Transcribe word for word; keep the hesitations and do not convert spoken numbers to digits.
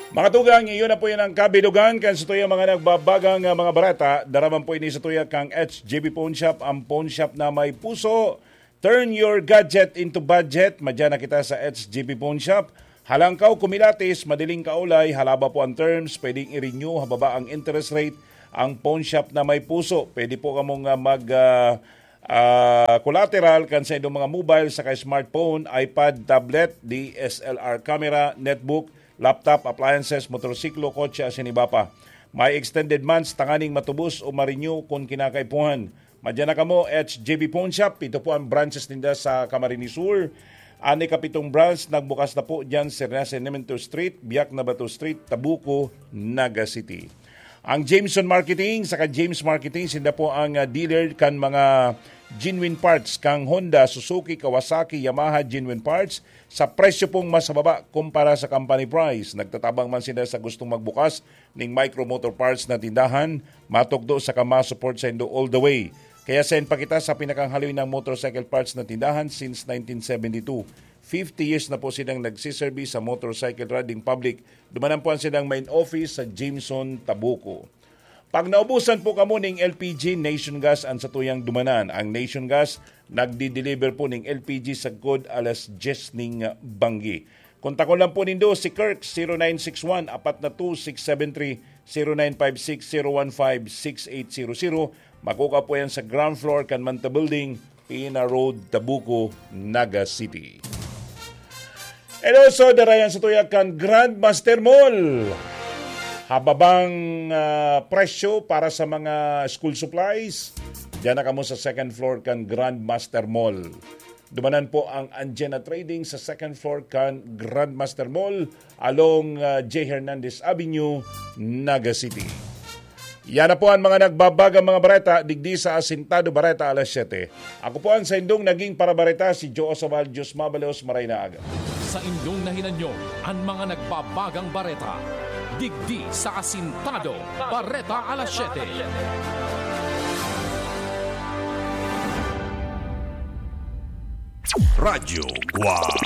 Mga tugang, iyon na po yan ang kabilugan kan sa tuyang mga nagbabagang, ah, mga bareta. Daraman po ini sa tuya kang H J B Pawn Shop, ang pawn shop na may puso. Turn your gadget into budget. Madyan na kita sa H J B Pawn Shop. Halangkaw kumilatis, madiling kaulay, halaba po ang terms, pwedeng i-renew, hababa ang interest rate. Ang pawn shop na may puso, pwede po kamong, ah, mag, ah, ah, collateral kan sa inyong mga mobile saka smartphone, iPad, tablet, D S L R camera, netbook, laptop, appliances, motorsiklo, kotse, asin iba pa. May extended months tanganing matubos o ma-renew kun kinakaipuhan. Madyan na kamo, H J B Pawn Shop. Ito po ang branches ninda sa Camarines Sur. An ikapitong branch nagbukas na po dyan sa Renace Nemento Street, Biak na Bato Street, Tabuco, Naga City. Ang Jameson Marketing, saka James Marketing, sinda po ang, ah, dealer kan mga genuine parts kang Honda, Suzuki, Kawasaki, Yamaha, genuine parts sa presyo pong mas mababa kumpara sa company price. Nagtatabang man sila sa gustong magbukas ning Micro Motor Parts na tindahan, matukdo saka ma-support saindo all the way. Kaya send pa kita sa pinakanghaloy na motorcycle parts na tindahan since nineteen seventy-two. Fifty years na po silang nagsiserbi sa motorcycle riding public. Dumanan po ang silang main office sa Jameson, Tabuco. Pag naubusan po kamo ning L P G, Nation Gas ang satuyang dumanan. Ang Nation Gas nagdi-deliver po ning L P G sagkod alas dyes ning banggi. Kontakon lang po nindo si Kirk, zero nine six one, apat na two, six seven three, zero nine five six, zero one five, six eight zero zero. Makukuha po yan sa ground floor kan Manta Building, Pina Road, Tabuco, Naga City. And also, darayan sa tuya kan Grandmaster Mall. Hababang, ah, presyo para sa mga school supplies. Diyan na kamo sa second floor kan Grandmaster Mall. Dumanan po ang Anjena Trading sa second floor kan Grandmaster Mall along, ah, J Hernandez Avenue, Naga City. Yan na po ang mga nagbabagang mga bareta digdi sa Asintado Bareta alas siyete. Ako po ang saindong naging parabareta, si Joe Osabal. Diyos mabalos, maray na aga. Sa indong nahinanyo, ang mga nagbabagang bareta. Digdi sa Asintado Bareta alas siyete. Radyo Guwang.